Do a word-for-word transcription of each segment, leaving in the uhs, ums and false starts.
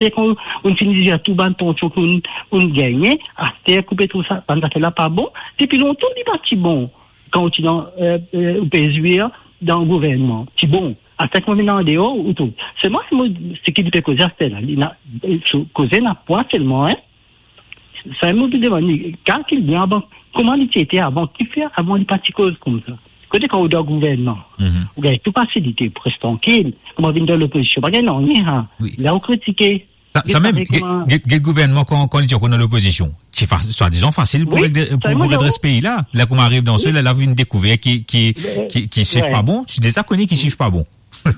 Aster kan ou fini dir tou bann pansion ki ou, ou gagne, aster koupe tou sa, bann zafer la pa bon. Depi lontan, li pa ti bon. Kan ou ti dan, eh, eh, ou pe zwir dan gouvernman, ti bon. Aster kan ou vinn andeor, ou tou. Selman, mo, seki li pe koze aster la, li na, eh, so koze na pwa selman, hein. Sa, mo pe demann li, kalkil bien avan, kouma li ti ete avan, kifer avan li pa ti koz koumsa. Kote kan ou dan gouvernman, ou gagn tou fasilite pou res trankil. Kouma vinn dan lopozision, pa gagn nanye, ha. Wi. La ou kritike. Sa, sa mem, get, get, get gouvernman kan, kan li ti ankor dan lopozision, ti fa-, swadizan fasil pou, wi, reg-, pou, pou redres pei la. La kouma ariv dan sela, la vinn dekouver ki, ki, ki, ki sef pa bon. Ti deza kone ki sef pa bon.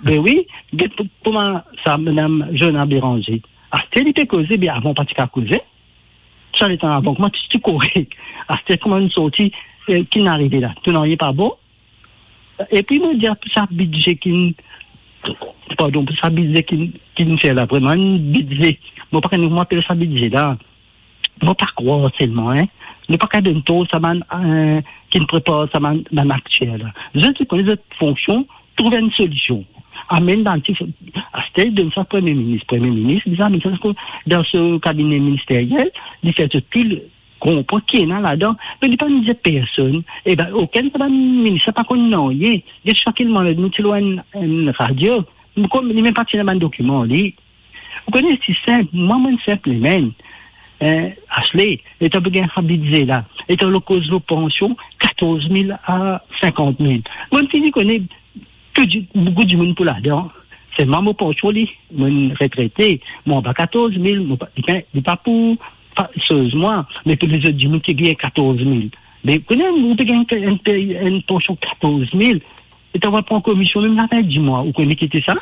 Be wi, get pou, kouma sa, madam Joanna Béranger. Aster li pe koze, be avan pa ti kav koze. Sa letan avan, kouma ti, ti korek. Aster kouma nou sorti, eh, ki finn arive la. Tou nanye pa bon. Epi mo dir pou sa bidze ki, pardon, pou sa bidze ki, ki nou fer la, vreman enn bidze. Mo pa konn kouma apel sa bidze la. Mo pa krwar selman, hein. Nou pa kav donn tor sa bann, eh, ki prepar sa bann, bann aktiel la. Zot, zot kone zot fonsion, trouv enn solision. Amenn bann ti, aster donn sa Premie Minis. Premie Minis, bizin amenn sa dan so kabine ministeriel, li fer zot tou konpran ki ena ladan, me li pa dir personn. Eba, okenn sa bann minis la pa konn nanye. Get sa ki li manz, nou ti lor enn, enn radio, nou konn, li mem pa ti ena bann dokiman, li. Ou kone, ti sinp, mwa, mwa sinp limem. Eh, Ashley, letan pe gagn sa bidze la, letan nou koz lor pansion, katorz mil a sinkant mil. Mo fini kone tou di-, boukou dimoun pou ladan. Selman mo pansion li, mo retrete, mo anba katorz mil, mo pa, li pa, li pa pou, pa, soz mwa, me pou lezot dimoun ki gagn katorz mil. Me kone, ou pe gagn enn, enn pansion katorz mil, e to va pran komision mem lafen dimwa, ou kone ki ti sa?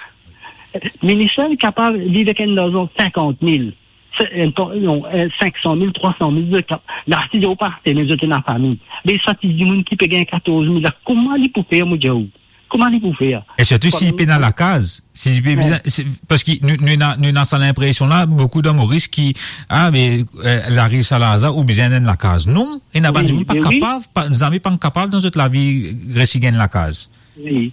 Minis la, li kapav viv avek enn larzan sinkant mil, se, enn, non, eh, sinksan mil, trwa san mil, zot kap-, la, si zot pa, se, me zot ena fami. Me sa ti dimoun ki pe gagn katorz mil la, kouma li pou fer, mo dir ou? Kouma li pou fer? E sirtou si li pena lakaz, si li pe bizin, si, parski nou, nou ena, nou ena sa linpresion la, boukou dan Moris ki, ah, me, eh, li ariv sa larzan, ou bizin enn lakaz. Non, ena bann dimoun pa kapav, pa, zame pa kapav dan zot lavi resi gagn lakaz. Wi.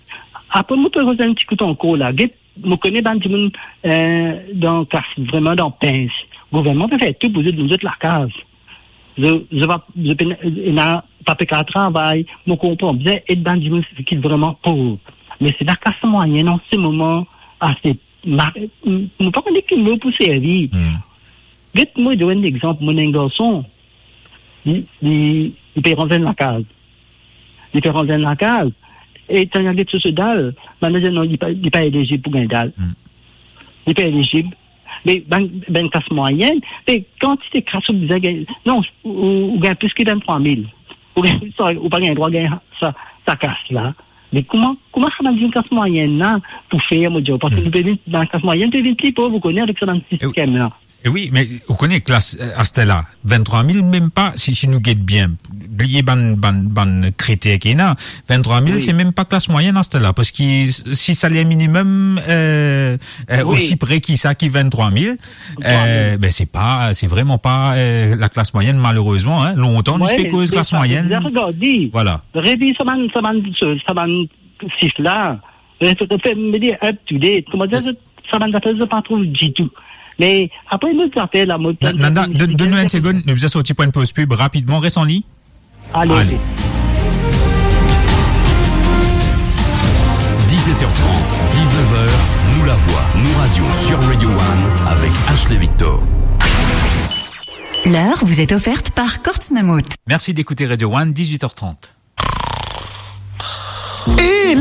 Apre, mo pe revenn enn ti kout ankor la. Get, mo kone bann dimoun, eh, dan klas, vreman dan pens. Gouvernman pe fer tou pou zot, zot lakaz. Zot, zot pa, zot pena, ena, pa pe kav travay. Mo konpran, bizin ed bann dimoun ki vreman pov. Me si laklas mwayenn an se moman, ase ma-, mo pa kone ki mo pou servi. Hmm. Get, mo donn enn lexanp, mo ena enn garson, li, li, li pe ranz enn lakaz. Li pe ranz enn lakaz. E kan li al get so, so dal, bann la dir non, li pa, li pa elizib pou gagn dal. Hmm. Li pa elizib. Me bann, bann klas mwayenn, me kantite klas ou bizin gagn, non, ou, ou, ou gagn plis ki venntrwa mil. Ou gagn, sorry, ou pa gagn drwa gagn sa, sa klas la. Me kouma, kouma sa bann dimoun klas mwayenn la pou fer, mo dir, parski nou pe vinn, bann klas mwayenn pe vinn pli pov, ou kone, avek sa bann sistem la. E wi, me ou kone klas, eh, aster la, venntrwa mil, mem pa, si, si nou get bien, bliye bann, bann, bann kriter ki ena, venntrwa mil, se mem pa klas mwayenn aster la, parski si saler minimem, eh, eh, osi pre ki sa ki venntrwa mil, eh, ben, se pa, se vreman pa, eh, laklas mwayenn, malerezman, hein. Lontan, nou ti pe koz klas mwayenn. Vwala. Revir sa bann, sa bann, sa bann sif la, eh, fer, fer, me dir, up to date. Kouma dir, sa bann zafer, zot pa trouv ditou. Me apre, lot zafer la, mo... Na-, Nanda, donn, donn nou enn segonn, nou bizin sorti pou enn poz pib rapidman, res an liny. Ale, ale. Dix-sept heures trente, dix-neuf heures, Nou Lavwa, Nou Radio sur Radio One avec Ashley Victor. L'heure vous est offerte par Courts Mammouth. Merci d'écouter Radio One, dix-huit heures trente. Eh,